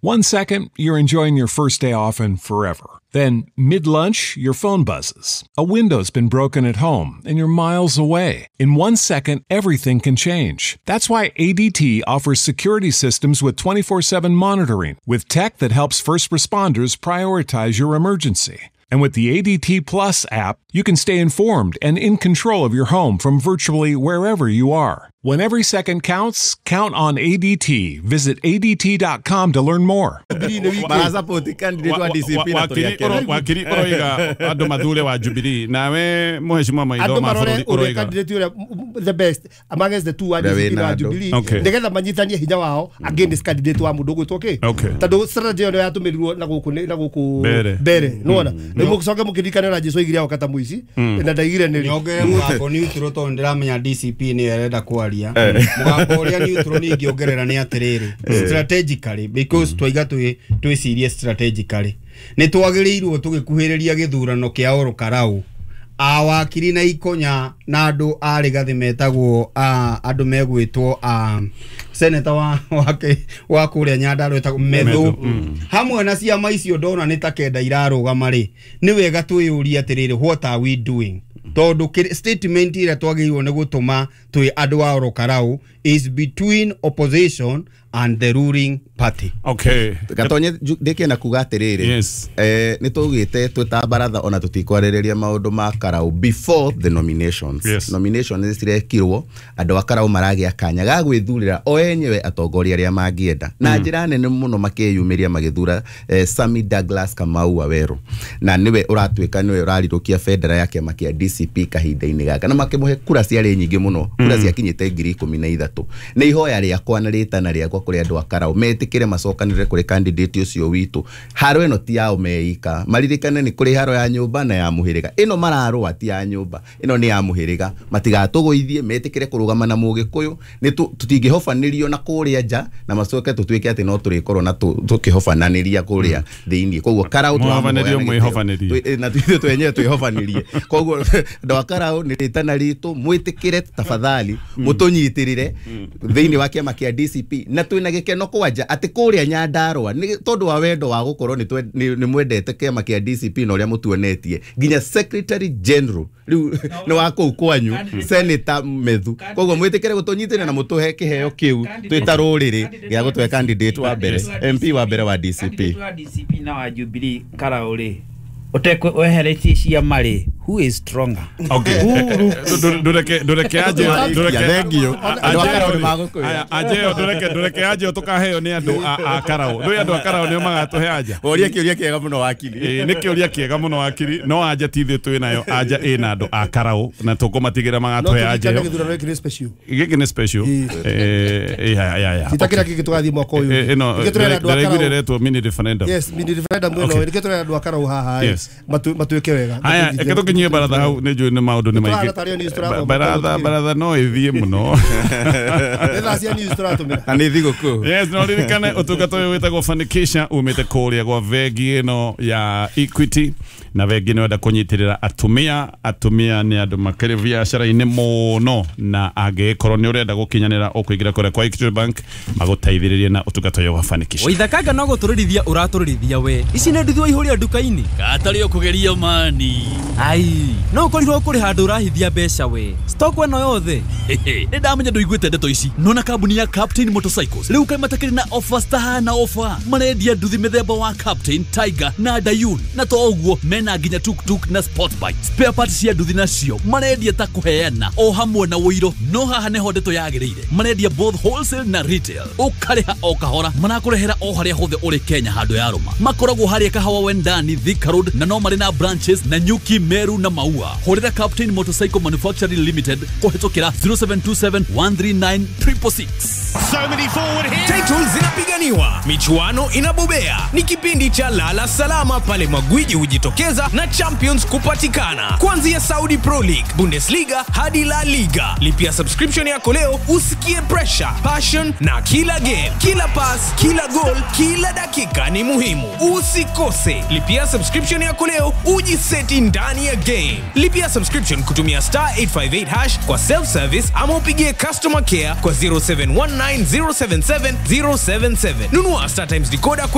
1 second, you're enjoying your first day off and forever. Then, mid-lunch, your phone buzzes. A window's been broken at home, and you're miles away. In 1 second, everything can change. That's why ADT offers security systems with 24/7 monitoring, with tech that helps first responders prioritize your emergency. And with the ADT Plus app, you can stay informed and in control of your home from virtually wherever you are. When every second counts, count on ADT. Visit ADT.com to learn more. Wakiri oroiga andũ mathure wa Jubilee nawe mheshimiwa Maitho ma bũrũri oroiga the best amongst the two wa DCP na Jubilee nigetha manyitanie hinya wao against candidate wa mundu gwitwo ki tondu strategy ĩyo yatũmĩrirwo na gũkũ na gũkũ mbere nĩwona nĩ mũcoke mũkĩririkane na Jesu aigire kata mũici na ndaigire nĩ nyongerere mũgambo neutral tondu ndiramenya DCP nĩ ĩrenda kwaria mũgambo ũrĩa neutral nĩ ingĩongerera nĩ atĩrĩrĩ strategically because twaiga twĩcirie strategically nĩ twagĩrĩirwo tũgĩkuhĩrĩria gĩthurano kĩa Oro Karau awakiri na ikonya na andũ a Rigathi metagwo andũ megwĩtwo senator wa kũrĩa Nyandarua etagwo Methu hamwe na ciama icio ndona nĩ ta kenda irarũgama rĩ nĩ wega twĩyũrie atĩrĩrĩ what are we doing tondu statement ĩrĩa twagĩrĩirwo nĩ gũtũma twĩ andũ a Oro Karau is between opposition and the ruling party. Okay. Gatonye ndikienda kuga atiriri. Yes. Ni tugite twita baratha ona tutikwaririria maundu ma Karau before the nominations. Yes. Nominations cirekirwo andu a Karau maragia kanya ga gwithurira o enyewe atongoria aria mangienda. Na njira nene muno makiyumiria magithura Sammy Douglas Kamau Waweru. Na niwe uratuika niwe urarirukia bendera ya kiama kia DCP kahinda-ini gaka na makimuhe kura ciari nyingi muno. Kura ciakinyite 13,000. Ni ihoya riakwa na ritana riakwa kuri andu a Karau metikire macokanire kuri candidate ucio witu haro ino ti yao meika maririkane ni kuri haro ya nyumba na ya muhiriga ino mararua ti ya nyumba ino ni ya muhiriga matigatuguithie metikire kurugama na mugikuyu ni tutingihobanirio na kuria nja na macoke tutuike ati no turikorwo na tukihobananiria kuria thiini koguo Karau twahobanĩrio mwihobanirie na ithuĩ twenyewe twihobanirie koguo andu a Karau ni ritana ritu mwitikire tafadhali mutunyitirire thiini wa kiama kia DCP na twina gikeno kwanja ati kuria Nyandarua ni tondu wa wendo wa gukorwo ni mwendete kiama kia DCP na uria mutuonetie nginya secretary general riu ni wa kuu kwanyu Senator Methu koguo mwitikire gutunyitĩrĩra na mutuhe kiheo kiu twita ruriri gia gutwe candidate wa mbere MP wa mbere wa DCP wa DCP na wa Jubilee Karau ri utekwe weheretie ciama ri who is stronger. Okay. Ndureke aje thank you andu a Karau ni magukwira aje ndureke aje tukaheo ni andu a Karau ndui andu a Karau nio magatuhe aja uria kiuria kiega muno wakiri ni kiuria kiega muno wakiri no aja ti ithuĩ twĩ nayo aja ĩna andu a Karau na tukumatigĩra magatuhe aja gĩkĩ nĩ special ya titakira gĩkĩ tũgathiĩ mwaka ũyũ ĩno ndĩraiguire retwo mini referendum. Yes, mini referendum ĩno nĩkĩo tũrera andũ a Karau haha matuĩke wega. Haya tukinyie baratha hau nĩ njũĩ nĩ maũndũ nĩ maingĩ baratha no ĩthiĩ mũno nĩ cia news tũratũmĩra na nĩ thigũkũ. Yes, no ririkane ũtungata ũyũ wĩtagwo Fanikisha umĩte kũrĩa gwa bengi ĩno ya Equity na bengi ĩno ĩrenda kũnyitĩrĩra atumia atumia nĩ andũ makĩrĩ biacara-inĩ mũno na angĩkorwo nĩ ũrenda gũkinyanĩra ũkũingĩra kũrĩa kwa Equity Bank magũteithĩrĩrie na ũtungata ũyũ wa Fanikisha. Waithakanga no gũtũrĩrithia ũratũrĩrithia we ici nĩ nduthi waihũria nduka-inĩ gatarĩ ũkũgeria mani ai no ũkorirwo kũrĩ handũ ũrahithia mbeca we stock ĩno yothe nĩ ndamenya ndũiguĩte ndeto ici nona kambuni ya Captain Motorcycles rĩu kaĩ matakĩrĩ na offers tahana offer marendia nduthi mĩthemba wa Captain Tiger na Dayun na to ũguo mena nginya tuk-tuk na sport bike spare parts cia nduthi nacio marendia ta kũheana o hamwe na ũiro no haha nĩho ndeto yagĩrĩire marendia both wholesale na retail ũkarĩha o kahora marakũrehera o harĩa hothe ũrĩ Kenya handũ ya rũma makoragwo harĩa Kahawa Wendani Thika Road na no marĩ na branches na Nyuki Meru na Maua. Hũrĩra Captain Motorcycle Manufacturing Limited kũhĩtũkĩra 0727 139 666. So many forward here. Titles zinapiganiwa, michuano inabobea. Ni kipindi cha Lala Salama pale magwiji hujitokeza kucheza na champions kupatikana. Kuanzia Saudi Pro League, Bundesliga hadi La Liga. Lipia subscription yako leo usikie pressure, passion na kila game, kila pass, kila goal, kila dakika ni muhimu. Usikose. Lipia subscription yako leo ujiseti ndani ya game. Lipia subscription kutumia star 858 hash kwa self service ama upigie customer care kwa 0719077077. Nunua Star Times decoder.